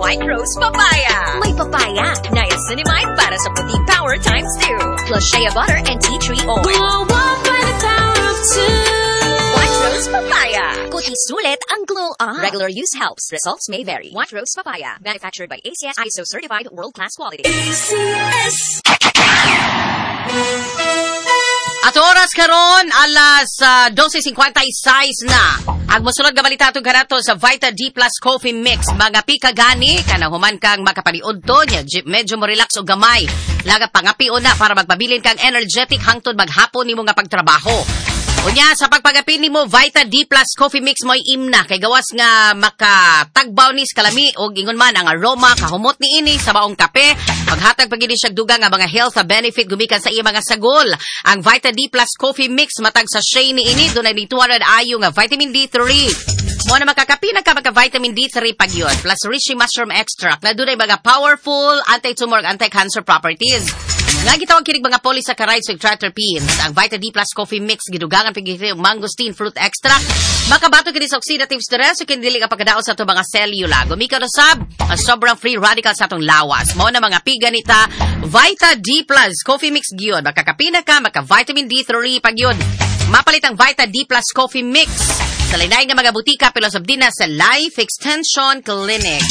White Rose Papaya. May papaya, niacinamide para sa puti power times 2. Plus shea butter and tea tree oil. Glow up by the power of two. White Rose Papaya. Kuti sulit ang glow up. Regular use helps. Results may vary. White Rose Papaya. Manufactured by ACS ISO certified world-class quality. ACS. At oras karon alas 12:56 na. Ang mosunod nga balita atong kanato sa Vita D Plus Coffee Mix. Mga pika gani kanang human kang makapaniudto nya medyo mo relax og gamay. Laga pangapio na para magpabilin kang energetic hangtod maghapon nimo nga pagtrabaho. Unya sa pagpagapin nimo Vita D Plus Coffee Mix mo'y imna kay gawas nga makatagbaw ni sa kalami og ingon man ang aroma kahumot niini sa maong kape, paghatag pag siya dugang nga mga health benefit gumikan sa iya mga sagol. Ang Vita D Plus Coffee Mix, matag sachet niini dunay ni 200 IU nga vitamin D3. Mo na makakapi na ka maka vitamin D3 pag yun. Plus reishi mushroom extract na dunay mga powerful anti-tumor, anti-cancer properties. Nga gitawag kinig mga polysaccharides ug triterpenes. Ang Vita D Plus Coffee Mix gidugangan pig mangosteen fruit extract. Makabato kini sa oxidative stress ug kini dili ka pagkadaot sa atong mga selula. Gumikaw na sab ang sobrang free radical sa atong lawas. Mao na mga piganita Vita D Plus Coffee Mix gyud. Makakapi na ka maka vitamin D3 pag yun. Mapalit ang Vita D Plus Coffee Mix sa lain nga mga butika pero sab din na sa Life Extension Clinic.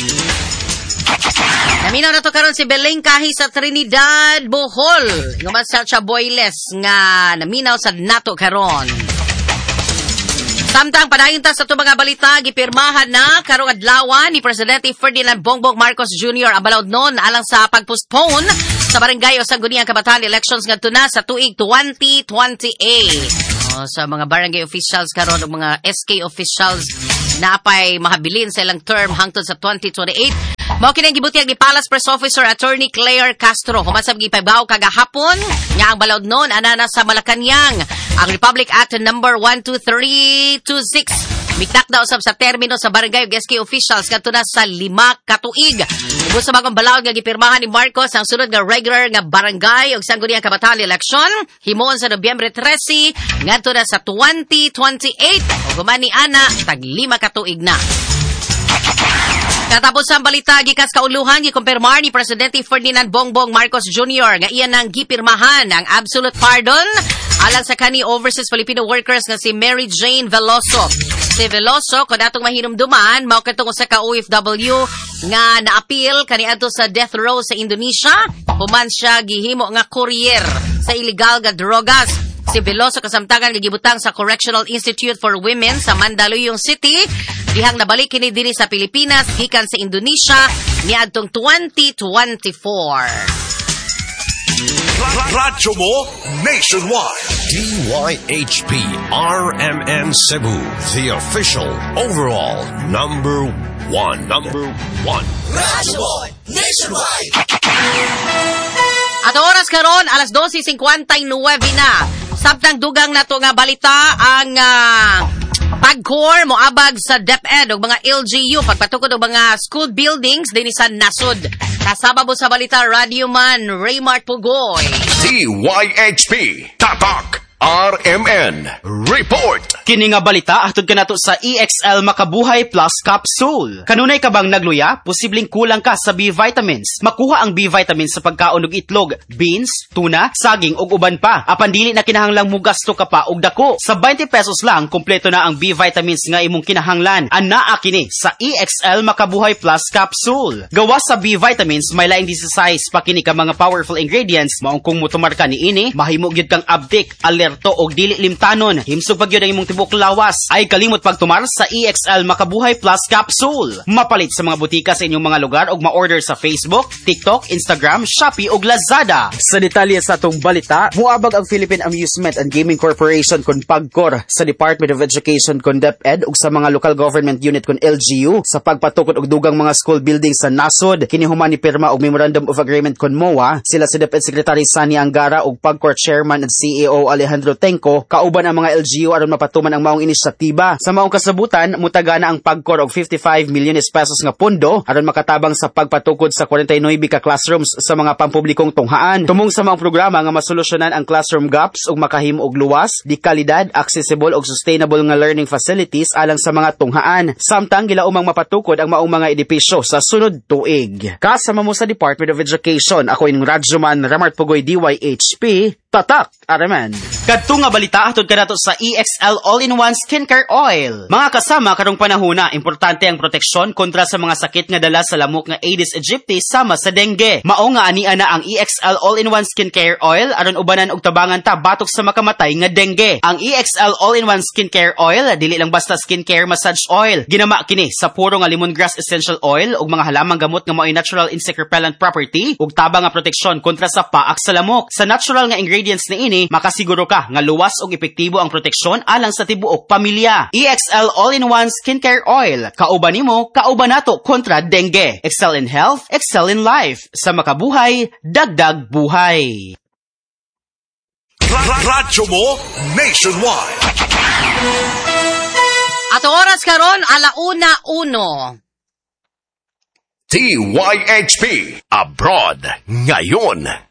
Naminaw na to karon si Beleng Kahi sa Trinidad, Bohol. Nguman sa Chaboyles nga naminaw sa nato karon. Samtang padayon ta sa ato mga balita, gipirmahan na karong adlaw ni Presidente Ferdinand Bongbong Marcos Jr. ang balaod nun alang sa pagpostpone sa barangay o sangguniang kabataan elections ngadto na sa tuig 2028. O, sa mga barangay officials karon ug mga SK officials na apay mahabilin sa ilang term hangtod sa 2028. Mao kini ang gibutyag ni Palace Press Officer Attorney Claire Castro. Human sa gipahibaw kagahapon nga ang balaod nun ana na sa Malacañang. Ang Republic Act number 12326 mitakda usab sa termino sa barangay ug SK officials ngadto na sa 5 ka tuig. Ubos sa bagong balaod nga gipirmahan ni Marcos, ang sunod nga regular nga barangay ug sangguniang kabataan election himuon sa Nobyembre 13 ngadto na sa 2028. Ug human ni ana tag 5 ka tuig na. Katapos ang balita gikas kauluhan, gikumpirmar ni Presidente Ferdinand Bongbong Marcos Jr. nga iya nang gipirmahan ang absolute pardon alang sa kani overseas Filipino workers nga si Mary Jane Veloso. Si Veloso, kung atong mahinumduman, mao kadtong usa ka OFW nga naapil kaniadto sa death row sa Indonesia, human siya gihimo nga courier sa illegal nga drogas. Si Veloso kasamtangan nga gibutang sa Correctional Institute for Women sa Mandaluyong City dihang nabalik kini dinhi sa Pilipinas gikan sa Indonesia niadtong 2024. Radyo mo nationwide. DYHP RMN Cebu, the official overall number one. Number one. Radyo mo nationwide. At oras karon alas 12:59 na. Samtang dugang nato nga balita, ang PAGCOR moabag sa DepEd ug mga LGU pagpatukod og mga school buildings dinhi sa nasod. Kasama mo sa balita, Radio Man Raymart Pugoy. DYHP Tatak RMN Report. Kini nga balita hatod kanato sa EXL Makabuhay Plus Capsule. Kanunay ka bang nagluya? Posibleng kulang ka sa B vitamins. Makuha ang B vitamins sa pagkaon og itlog, beans, tuna, saging ug uban pa. Apan dili na kinahanglang mugasto ka pa og dako. Sa 20 pesos lang kompleto na ang B vitamins nga imong kinahanglan. Anaa kini sa EXL Makabuhay Plus Capsule. Gawas sa B vitamins, may laing 16 pa kini ka mga powerful ingredients, maong kung mutumar ka niini, mahimo gyud kang abdik, alerto og dili limtanon. Himsog pa gyud ang imong tibuok lawas. Ay kalimot pagtumar sa EXL Makabuhay Plus Capsule. Mapalit sa mga butika sa inyong mga lugar ug ma-order sa Facebook, TikTok, Instagram, Shopee ug Lazada. Sa detalye sa atong balita, muabag ang Philippine Amusement and Gaming Corporation kon PAGCOR sa Department of Education kon DepEd ug sa mga local government unit kon LGU sa pagpatukod og dugang mga school buildings sa nasod. Kini human ni pirma og Memorandum of Agreement kon MOA sila si DepEd Secretary Sonny Angara ug PAGCOR Chairman and CEO Alejandro Alejandro Tengco kauban ang mga LGU aron mapatuman ang maong inisyatiba. Sa maong kasabutan, mutagana ang PAGCOR og 55 milyones pesos nga pondo aron makatabang sa pagpatukod sa 49 ka classrooms sa mga pampublikong tunghaan. Tumong sa maong programa nga masolusyonan ang classroom gaps ug makahimo og luwas, di kalidad, accessible ug sustainable nga learning facilities alang sa mga tunghaan. Samtang gilaumang mapatukod ang maong mga edipisyo sa sunod tuig. Kasama mo sa Department of Education, ako inyong radyoman Ramart Pugoy, DYHP, Tatak RMN. Kadto nga balita hatod kanato sa EXL All-in-One Skincare Oil. Mga kasama, karong panahona, importante ang proteksyon kontra sa mga sakit nga dala sa lamok nga Aedes aegypti sama sa dengue. Mao nga ania na ang EXL All-in-One Skincare Oil aron ubanan og tabangan ta batok sa makamatay nga dengue. Ang EXL All-in-One Skincare Oil dili lang basta skincare massage oil. Ginama kini sa puro nga lemongrass essential oil ug mga halamang gamot nga mao'y natural insect repellent property ug tabang nga proteksyon kontra sa paak sa lamok. Sa natural nga ingredients niini, makasiguro ka nga luwas ug epektibo ang proteksyon alang sa tibuok pamilya. EXL All-in-One Skincare Oil. Kauban nimo, kauban nato kontra dengue. Excel in health, excel in life. Sa makabuhay, dagdag buhay. Radyo mo nationwide. Ato oras karon 1:01. DYHP Abroad Ngayon.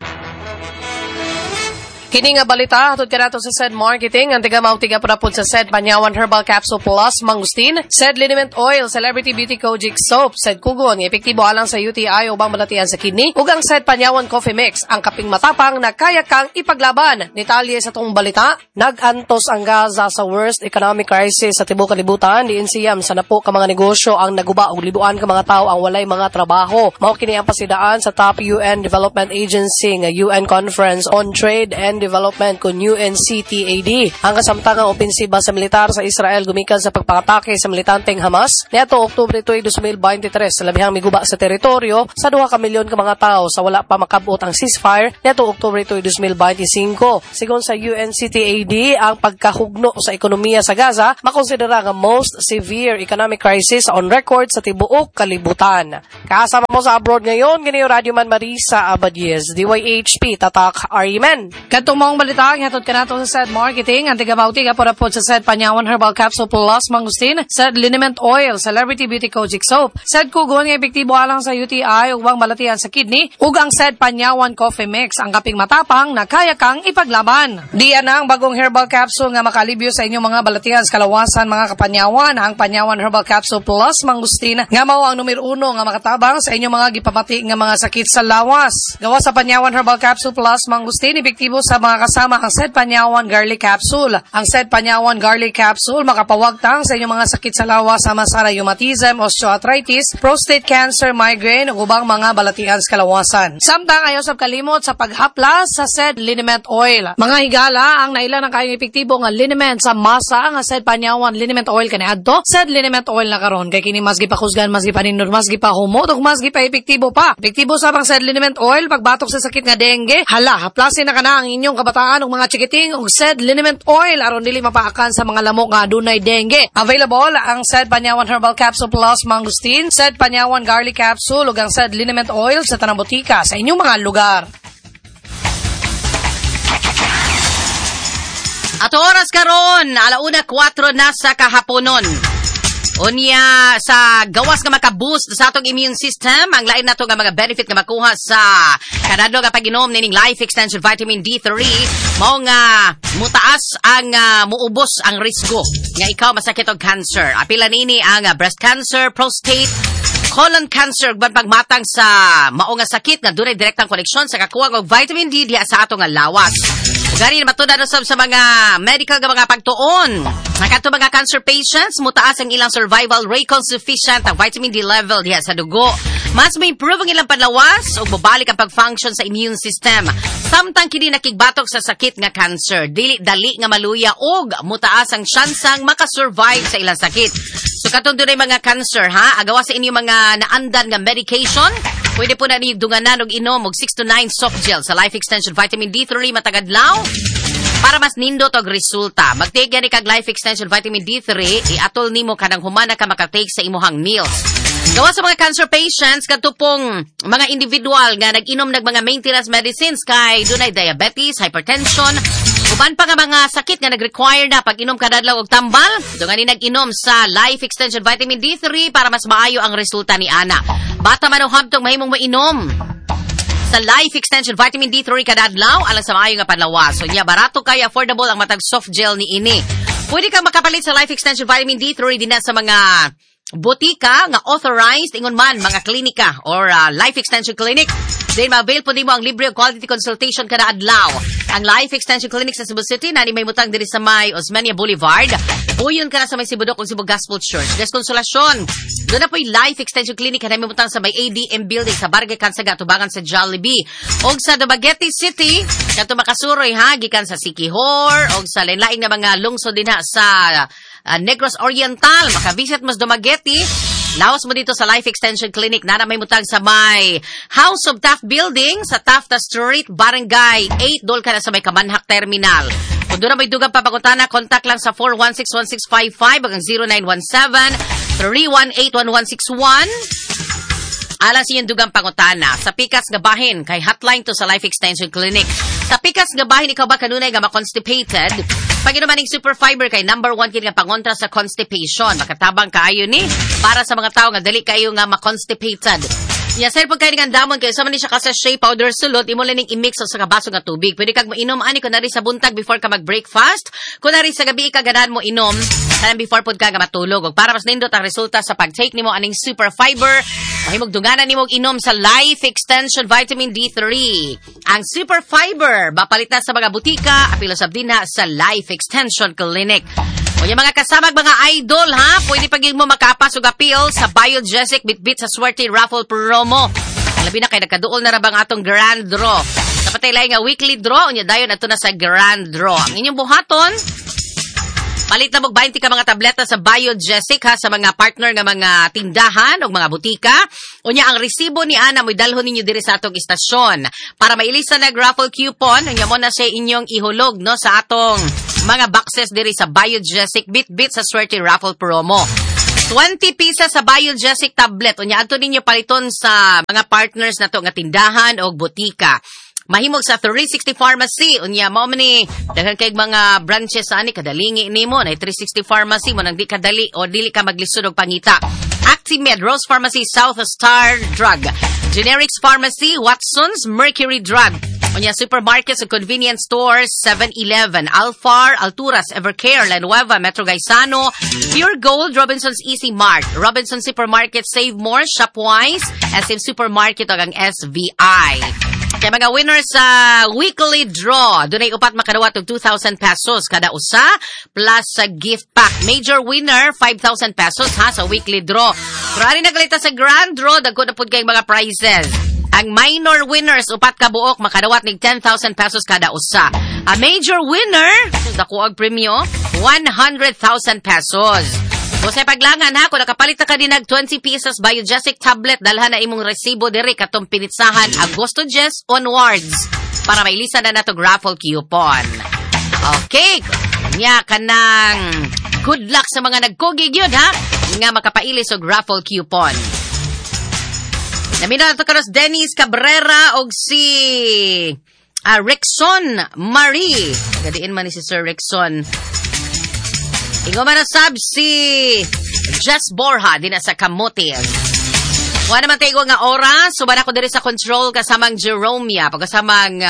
Kini nga balita hatod kanato sa SED Marketing ang tiga tiga pra sa SED Panyawan Herbal Capsule Plus Mangustin, SED Liniment Oil, Celebrity Beauty Kojic Soap, SED Kugon nga epektibo alang sa UTI ubang balatian sa kidney, ug ang SED Panyawan Coffee Mix, ang kaping matapang na kaya kang ipaglaban. Detalye sa tong balita, nag-antos ang Gaza sa worst economic crisis sa tibuok kalibutan, diin siyam sa napo ka mga negosyo ang naguba ug libuan ka mga tawo ang walay mga trabaho. Mao kini ang pasidaan sa top UN Development Agency nga UN Conference on Trade and Development kun UNCTAD. Ang kasamtangang opensiba sa militar sa Israel gumikan sa pagpangatake sa militanteng Hamas niadto Oktubre 2, 2023 sa labihang miguba sa teritoryo sa 2 ka milyon ka mga tawo sa wala pa makabot ang ceasefire niadto Oktubre 2, 2025. Sigon sa UNCTAD, ang pagkahugno sa ekonomiya sa Gaza makonsidera nga most severe economic crisis on record sa tibuok kalibutan. Kasama mo sa abroad ngayon, kini Radyo Man Marisa Abadies, DYHP, Tatak RMN. Kadtong maong balita, hatod kanato sa SED Marketing, ang tiga-mauti po sa SED Panyawan Herbal Capsule Plus Mangustin, SED Liniment Oil, Celebrity Beauty Kojic Soap, SED Kugon nga epektibo alang sa UTI ug ubang balatian sa kidney, ug ang SED Panyawan Coffee Mix, ang kaping matapang na kaya kang ipaglaban. Diyan na ang bagong herbal capsule nga makalibyo sa inyong mga balatian sa kalawasan, mga kapanyawan, ang Panyawan Herbal Capsule Plus Mangustin nga mao ang numero 1 nga makatabang sa inyong mga gipamati nga mga sakit sa lawas. Gawa sa Panyawan Herbal Capsule Plus Mangustin, epektibo sa mga kasama ang SED Panyawan Garlic Capsule. Ang SED Panyawan Garlic Capsule makapawagtang sa inyong mga sakit sa lawas sama sa rheumatism, osteoarthritis, prostate cancer, migraine ug ubang mga balatian sa kalawasan. Samtang ayaw sab kalimot sa paghaplas sa SED Liniment Oil. Mga higala, ang naila ng kayong epektibo nga liniment sa masa nga SED Panyawan Liniment Oil kaniadto, SED Liniment Oil na karon kay kini mas gipakusgan, mas gipanindot, mas gipahumot ug mas gipa-epektibo pa. Epektibo sa pang SED Liniment Oil pagbatok sa sakit nga dengue. Hala, haplasin na kana ang inyong kabataan ug mga chikiting ug SED Liniment Oil aron dili mapaakan sa mga lamok nga adunay dengue. Available ang SED Panyawan Herbal Capsule Plus Mangustin, SED Panyawan Garlic Capsule ug ang SED Liniment Oil sa tanang botika sa inyong mga lugar. At oras karon 1:04 na sa kahaponon. Unya sa gawas nga maka-boost sa atong immune system, ang lain nato nga mga benefit nga makuha sa kanadlo nga pag-inom nining Life Extension Vitamin D3, mao nga mutaas ang muubos ang risgo nga ikaw masakit og cancer. Apila nini ang breast cancer, prostate, colon cancer, uban pagmatang sa mao nga sakit nga dunay direktang koneksyon sa kakuwang og vitamin D diha sa atong lawas. Gani matud-an usab sa mga medical nga mga pagtuon. Nakadto mga cancer patients, mutaas ang ilang survival rate kung sufficient ang vitamin D level diha sa dugo. Mas ma-improve ang ilang panlawas ug mobalik ang pag-function sa immune system. Samtang kini nakigbatok sa sakit nga cancer, dili dali nga maluya ug mutaas ang tsansang makasurvive sa ilang sakit. So katong dunay mga cancer ha, agawa sa inyong mga naandan nga medication, pwede po na ninyo dunganan og inom og 6 to 9 soft gel sa Life Extension Vitamin D3 matag adlaw para mas nindot og resulta. Mag-take gani kag Life Extension Vitamin D3, iatol nimo kanang humana ka makatake sa imuhang meals. Gawa sa mga cancer patients, kadto pong mga individual nga nag-inom nag mga maintenance medicines kay dunay diabetes, hypertension, Uban pa nga mga sakit nga nag-require na pag inom kada adlaw og tambal, dungan ni nag-inom sa Life Extension Vitamin D3 para mas maayo ang resulta ni ana. Bata man o hamtong, mahimong mainom sa Life Extension Vitamin D3 kada adlaw alang sa maayo nga panlawas. So nya barato kay affordable ang matag soft gel ni ini. Pwede kang makapalit sa Life Extension Vitamin D3 dinha sa mga botika nga authorized, ingon man mga klinika or Life Extension Clinic. Then ma-avail po nimo ang libre og quality consultation kada adlaw. Ang Life Extension Clinic sa Cebu City nani may mutang diri sa may Osmeña Boulevard. Puyon ka na sa may Sibudok ug Cebu Gospel Church. Des Consolacion. Doon na po'y Life Extension Clinic na may mutang sa may ADM Building sa Barangay Kansaga, tubangan sa Jollibee. Og sa Dumaguete City, kadto makasuroy ha, gikan sa Siquijor og sa lain-laing na mga lungsod dinha sa Negros Oriental. Makavisit mas Dumaguete. Laos mo dito sa Life Extension Clinic na may mutang sa may House of Taft Building sa Tafta Street, Barangay 8, dol ka na sa may Kamanhak Terminal. Kung doon na may dugang papagutana, contact lang sa 416-1655 hanggang 0917-318-1161. Alang sa inyong dugang pangutana, sa pikas nga bahin, kay hotline to sa Life Extension Clinic. Sa pikas nga bahin, ikaw ba kanunay nga ma-constipated? Pag inuman ning Super Fiber kay number 1 kini nga pangontra sa constipation. Makatabang kaayo ni para sa mga tao nga dali kayo nga ma-constipated. Ya sir, pag kayo nga damon kayo, sama ni siya ka sachet powder sulod, imo lang ning i-mix sa kabaso nga tubig. Pwede kag mainom ani kunwari sa buntag before ka mag-breakfast, kunwari sa gabi ka ganahan mo inom, kanang before pod ka nga matulog. Ug para mas nindot ang resulta sa pag-take nimo aning Super Fiber, mahimong dunganan nimo og inom sa Life Extension Vitamin D3. Ang Super Fiber mapalit na sa mga butika, apil sab dinha sa Life Extension Clinic. O yung mga kasamag mga idol ha, pwede pag mo makapas og appeal sa Biogesic Bitbit sa Swerte Raffle Promo. Labi na kay nagkaduol na ra bang atong grand draw. Dapat ay lahi nga weekly draw, unya dayon ato na sa grand draw. Ang inyong buhaton, palit na mo 20 ka mga tableta sa Biogesic ha, sa mga partner nga mga tindahan o mga butika. Unya ang resibo ni ana mo'y dalhon ninyo diri sa atong istasyon para mailisa na raffle coupon. Unya mo na siya inyong ihulog no sa atong mga boxes diri sa Biogesic Bitbit sa Swerte Raffle Promo. 20 pieces sa Biogesic tablet. Unya adto ninyo paliton sa mga partners nato nga tindahan o butika. Mahimog sa 360 Pharmacy. Unya mao man ni daghan kay mga branches sa ani kadalingi nimo na 360 Pharmacy mo nang di kadali o dili ka maglisod og pangita. Actimed, Rose Pharmacy, South Star Drug, Generics Pharmacy, Watson's, Mercury Drug. Unya supermarkets ug convenience stores, 7-Eleven, Alfar, Alturas, Evercare, La Nueva, Metro Gaisano, Pure Gold, Robinson's Easy Mart, Robinson Supermarket, Save More, Shopwise, SM Supermarket ug ang SVI. Kaya mga winners sa weekly draw, dunay upat makadawat og 2,000 pesos kada usa plus sa gift pack. Major winner, 5,000 pesos ha sa weekly draw. Pero ani nagalita sa grand draw, dagko na pud kay mga prizes. Ang minor winners, upat ka buok, makadawat nig 10,000 pesos kada usa. A major winner, dako og premyo, 100,000 pesos. Kung sa paglangan ha, kung nakapalit na ka din nag 20 pieces Biogesic tablet, dalhan na imong resibo diri katong pinitsahan Agosto 10 onwards para mailisa na nato raffle coupon. Okay, nya kanang good luck sa mga nagkugig yun ha, nga makapailis og raffle coupon. Namina na to karos Dennis Cabrera og si Rickson Marie. Gadiin man ni si Sir Rickson. Ingo man na sab si Jess Borja din sa Camotes. Wala naman tayo nga oras. Suban ako diri sa control kasamang Jeromia, pagkasamang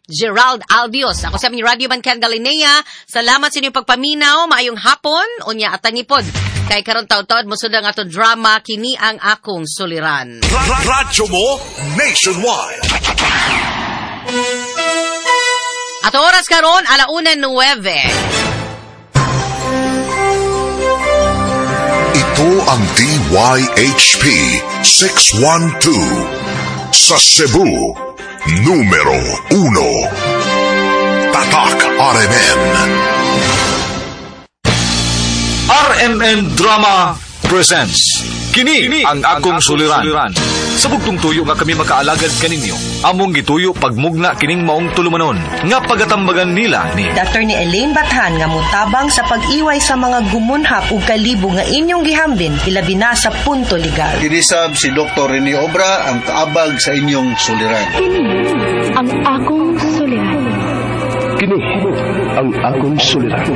Gerald Albios. Ako sa aming Radio Man Ken Galinea. Salamat sa inyong pagpaminaw. Maayong hapon. Unya atangipod. Kay karon taud-taud mosunod ang atong drama kini ang akong suliran. Radyo mo nationwide. Ato oras karon 1:09. Ito ang DYHP 612 sa Cebu, numero 1. Tatak RMN. RMN Drama presents Kini ang akong suliran. Sa bugtong tuyo nga kami makaalagad kaninyo, among gituyo pagmugna kining maong tulumanon nga pagatambagan nila ni Dr. ni Elaine Bathan nga mutabang sa pag-iway sa mga gumunhap ug kalibo nga inyong gihambin ilabi na sa punto legal. Kinisab si Dr. Rene Obra ang kaabag sa inyong suliran. Kini ang akong suliran. Kini ang akong suliran.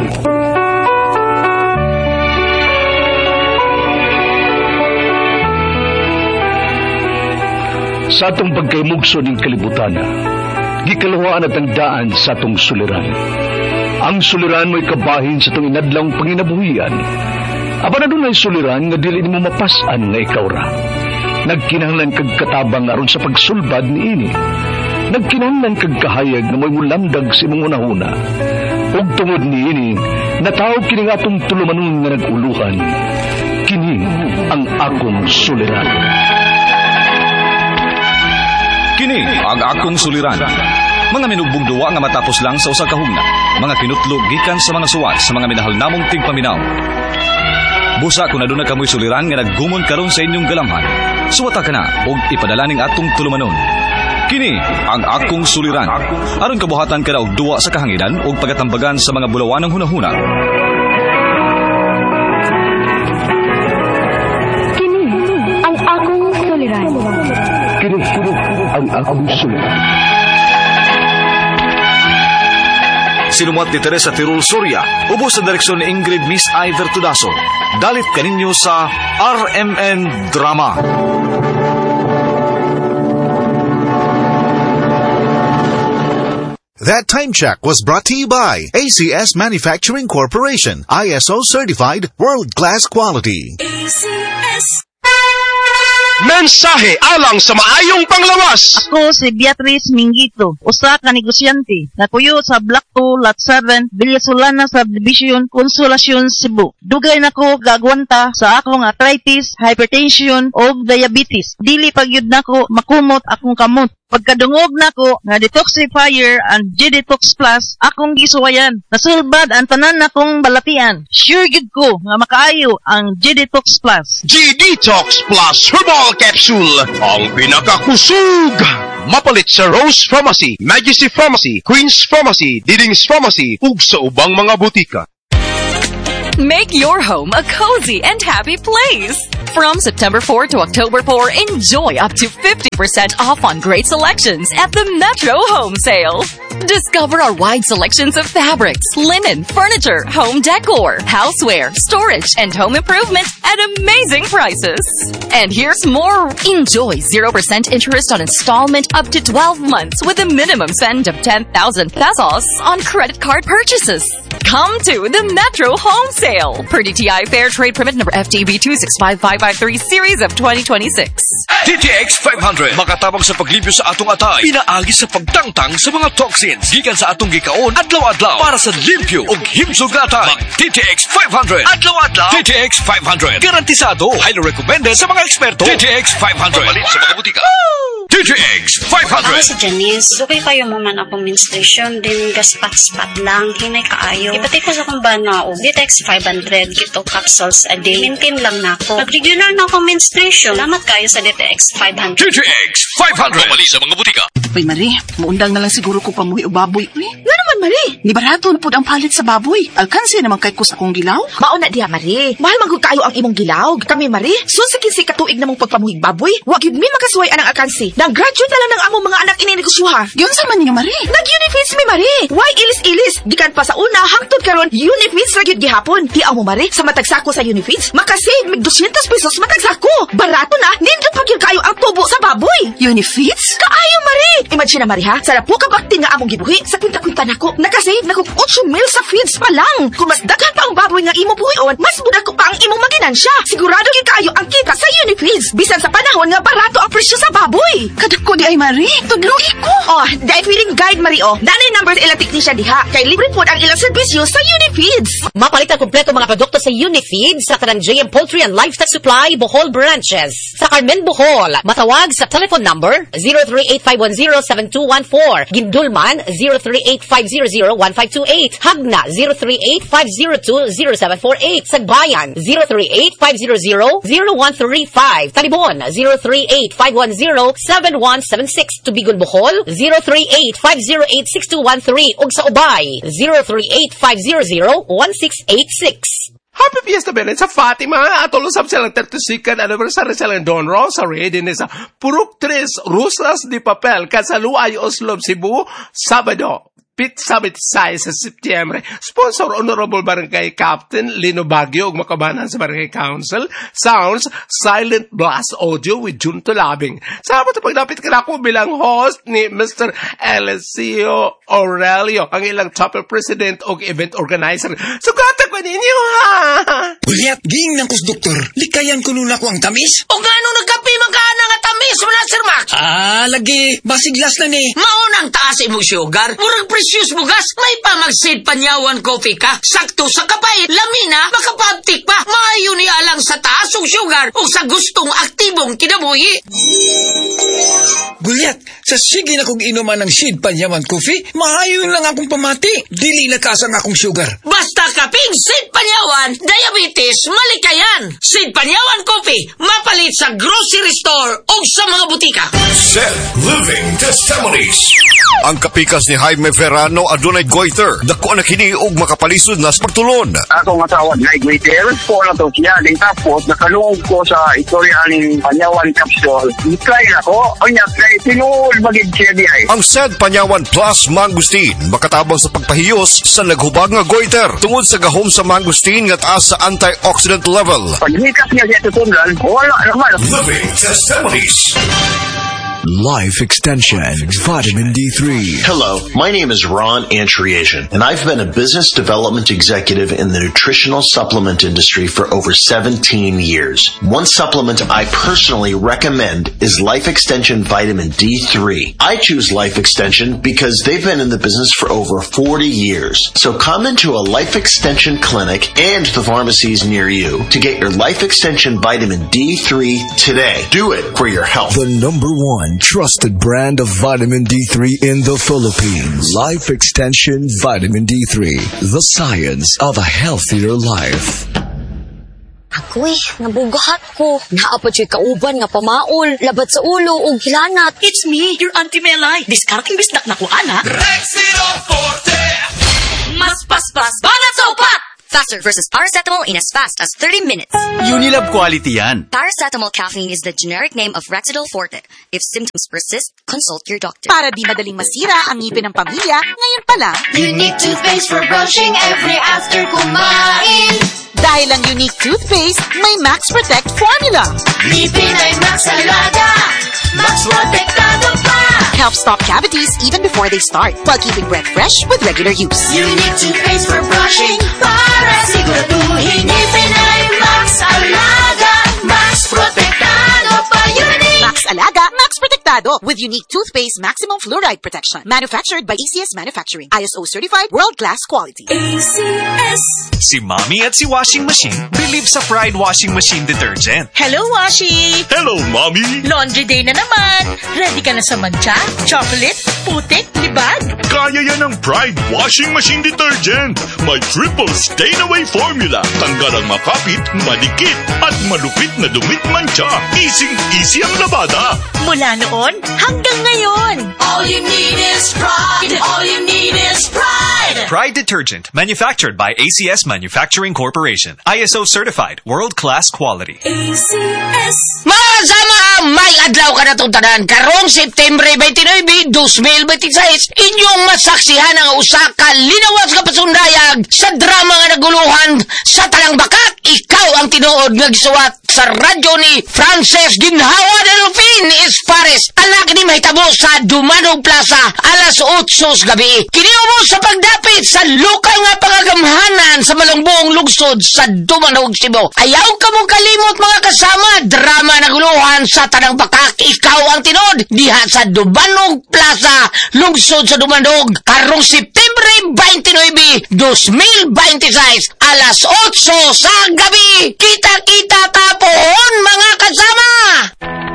Sa atong pagkaymugso ning kalibutan, gikaluhaan at ang daan sa atong suliran. Ang suliran mo'y kabahin sa itong inadlawng panginabuhian. Apan adunay suliran nga dili nimo mapas-an nga ikaw ra. Nagkinahanglan kag katabang aron sa pagsulbad niini. Nagkinahanglan kag kahayag nga mo'y mulamdag sa imong hunahuna. Ug tungod niini, natawag kini nga atong tulumanon nga nag-uluhan. Kini ang akong suliran. Kini ang akong suliran. Mga minugbong duwa nga matapos lang sa usa ka hugna. Mga kinutlog gikan sa mga suwat sa mga minahal namong tigpaminaw. Busa kung aduna kamoy suliran nga naggumon karon sa inyong galamhan, suwata ka na og ipadala ning atong tulumanon. Kini ang akong suliran. Aron kabuhatan ka na og duwa sa kahanginan og pagatambagan sa mga bulawanang hunahuna. Kini ang akong suliran. Kini ang akong suliran. Sinumuat ni Teresa Tirul Soria, ubos sa direksyon ni Ingrid Miss Iver Tudaso. Dalit kaninyo sa RMN Drama. That time check was brought to you by ACS Manufacturing Corporation, ISO certified world-class quality. ACS. Mensahe alang sa maayong panglawas. Ako si Beatrice Mingito, usa ka negosyante, nakuyo sa Block 2, Lot 7, Villasolana Subdivision, Consolacion, Cebu. Dugay nako gagwanta sa akong arthritis, hypertension ug diabetes. Dili pagyud nako makumot akong kamot. Pagkadungog nako nga detoxifier and G-Detox Plus akong gisuwayan. Nasulbad ang tanan nakong balatian. Sure gyud ko nga makaayo ang G-Detox Plus. G-Detox Plus Herbal Capsule, ang pinakakusog! Mapalit sa Rose Pharmacy, Majesty Pharmacy, Queen's Pharmacy, Diding's Pharmacy, ug sa ubang mga butika. Make your home a cozy and happy place. From September 4 to October 4, enjoy up to 50% off on great selections at the Metro Home Sale. Discover our wide selections of fabrics, linen, furniture, home decor, houseware, storage, and home improvement at amazing prices. And here's more. Enjoy 0% interest on installment up to 12 months with a minimum spend of 10,000 pesos on credit card purchases. Come to the Metro Home Sale. Per DTI Fair Trade Permit number FTB 265553 Series of 2026. DTX 500 makatabang sa paglimpyo sa atong atay, pinaagi sa pagtangtang sa mga toxins gikan sa atong gikaon adlaw-adlaw para sa limpyo ug himsog nga atay. Mag DTX 500 adlaw-adlaw. DTX 500 garantisado, highly recommended sa mga eksperto. DTX 500 Papalit sa mga butika. DTX 500. Ako si Janice. Dugay kayo mo man akong menstruation din gaspat-spat lang hinay kaayo. Ipatay ko sa akong bana og DTX 500 kito capsules a day. Maintain lang nako. Pag-regular na akong menstruation. Salamat kayo sa DTX 500. DTX 500. Papalit sa mga butika. Uy, Marie, muundang na lang siguro ko pamuhi og baboy. Uy, nga naman, Marie. Ni barato na pud ang palit sa baboy. Alkansi naman kay ko sa akong gilaw. Mauna diha, Marie. Mahal man gud kaayo ang imong gilaw. Kami, Marie, sun sa 15 ka tuig namong pagpamuhig baboy, wa gyud mi makasuway anang alkansi. Nang graduate na lang ng among mga anak ininegosyoha. Giunsa man ninyo, Marie? Nag-Unifeeds mi, Marie. Why ilis-ilis? Gikan pa sa una hangtod karon Unifeeds ra gyud gihapon. Tiaw mo, Marie, sa matag sako sa Unifeeds, makasave mig 200 pesos matag sako. Barato na, nindot pa gyud kaayo ang tubo sa baboy. Unifeeds? Kaayo, Marie. Imagine na, Marie, ha? Sa lapo ka bakti nga among gibuhi, sa kwinta-kwinta nako, nakasave na kog 8 mil sa feeds pa lang. Kung mas daghan pa ang baboy nga imo buhion, mas budako pa ang imong maginansya. Sigurado gyud kaayo ang kita sa Unifeeds. Bisan sa panahon nga barato ang presyo sa baboy. Kadako di ay, Marie. Tudlogi ko. Oh, dahil feeling guide, Marie, oh. Nanay numbers ilang technician diha. Kay libre po ang ilang serbisyo sa Unifeeds. Mapalit ang kompleto mga produkto sa Unifeeds sa kanang JM Poultry and Livestock Supply Bohol Branches. Sa Carmen, Bohol, matawag sa telephone number 0385107214. Gindulman 0385001528. Hagna 0385020748. Sagbayan 0385000135. Talibon 0385107176. Tubigon Bohol 0385086213. Ug sa Ubay 0385001686. Happy Fiesta Belen sa Fatima. Atol usab silang 32nd anniversary silang Don Rosary din sa Purok 3 Rusas di Papel, Kasaluay, Oslob, Cebu, Sabado, Pizza 26 sa Setyembre. Sponsor Honorable Barangay Captain Lino Baguio ug makabanan sa Barangay Council. Sounds Silent Blast Audio with Jun Tulabing. Salamat sa pagdapit kanako bilang host ni Mr. Eliseo Aurelio, ang ilang chapel president og event organizer. Sugata ko ninyo ha! Ulyat, ging ng kus doktor. Likayan ko nuna ko ang tamis. O gano nagkape man ka na nga tamis mo na, Sir Max? Ah, lagi. Basiglas na ni. Maunang taas imong sugar. Murag precious bugas. May pamagsid panyawan coffee ka. Sakto sa kapay. Lamina, makapabtik pa. Maayo ni alang sa taas og sugar o sa gustong aktibong kinabuhi. Gulyat, sa sige na kong inuman ng Sid Panyawan Coffee, maayo lang akong pamati. Dili na taas ang akong sugar. Basta kaping Sid Panyawan, diabetes, malikayan. Sid Panyawan Coffee, mapalit sa grocery store o sa mga butika. Set Living Testimonies. Ang kapikas ni Jaime Ferrano adunay goiter. Dako na kini og makapalisod na sa pagtulon. Akong asawa na goiter, po na to siya. Din tapos, nakalungog ko sa istorya aning Panyawan Capsule. Try na ko. Unya, kay tinuod magid siya di ay. Ang Said Panyawan Plus Mangustin makatabang sa pagpahiyos sa naghubag nga goiter tungod sa gahom sa mangustin nga taas sa antioxidant level. Paghikas niya siya tutundan, wala naman. Living Testimonies. Life Extension Vitamin D3. Hello, my name is Ron Antriasian, and I've been a business development executive in the nutritional supplement industry for over 17 years. One supplement I personally recommend is Life Extension Vitamin D3. I choose Life Extension because they've been in the business for over 40 years. So come into a Life Extension clinic and the pharmacies near you to get your Life Extension Vitamin D3 today. Do it for your health. The number one trusted brand of vitamin D3 in the Philippines. Life Extension Vitamin D3. The science of a healthier life. Agoy, nabugahat ko. Naa pa juy kauban nga pamaol, labad sa ulo ug hilanat. It's me, your Auntie Melay. Diskarting bisdak na ko, ana. Rexidol Forte! Mas paspas, banat sa upat! Faster versus paracetamol in as fast as 30 minutes. Unilab quality yan. Paracetamol caffeine is the generic name of Rexidol Forte. If symptoms persist, consult your doctor. Para di madaling masira ang ngipin ng pamilya, ngayon pa lang. Unique toothpaste for brushing every after kumain. Dahil ang unique toothpaste, may Max Protect formula. Ngipin ay Max Alaga, Max Protektado pa. Help stop cavities even before they start, while keeping breath fresh with regular use. Unique toothpaste for brushing para siguraduhin ngipin ay Max Alaga, Max Protektado pa. Unique! Max Alaga, Max Protektado with unique toothpaste maximum fluoride protection. Manufactured by ACS Manufacturing. ISO certified world-class quality. ACS. Si Mommy at si Washing Machine believe sa Pride Washing Machine Detergent. Hello, Washi! Hello, Mommy! Laundry day na naman! Ready ka na sa mantsa, chocolate, putik, libag? Kaya yan ang Pride Washing Machine Detergent. May triple stain-away formula. Tanggal ang makapit, madikit, at malupit na dumit mantsa. Easy-easy ang labada. Mula noon hanggang ngayon! All you need is pride. All you need is pride. Pride Detergent, manufactured by ACS Manufacturing Corporation. ISO certified, world-class quality. ACS. Mga kasama, may adlaw ka na itong tanan. Karong September 29, 2026, inyong masaksihan ang usa ka linawas nga pasundayag sa drama nga naguluhan sa Tanang Bakak. Ikaw ang tinuod nga gisuwat sa radyo ni Frances Ginhawa Delfin Espares. Anak ni mahitabo sa Dumanog Plaza alas 8 sa gabi. Kiniubo sa pagdapit sa lokal nga pangagamhanan sa malungbuong lungsod sa Dumanog, Cebu. Ayaw ka mong kalimot mga kasama, drama na guluhan sa Tanang Bakak. Ikaw ang tinuod diha sa Dumanog Plaza, lungsod sa Dumanog, karong September 29, 2026, alas 8 sa gabi. Kita-kita tapoon mga kasama!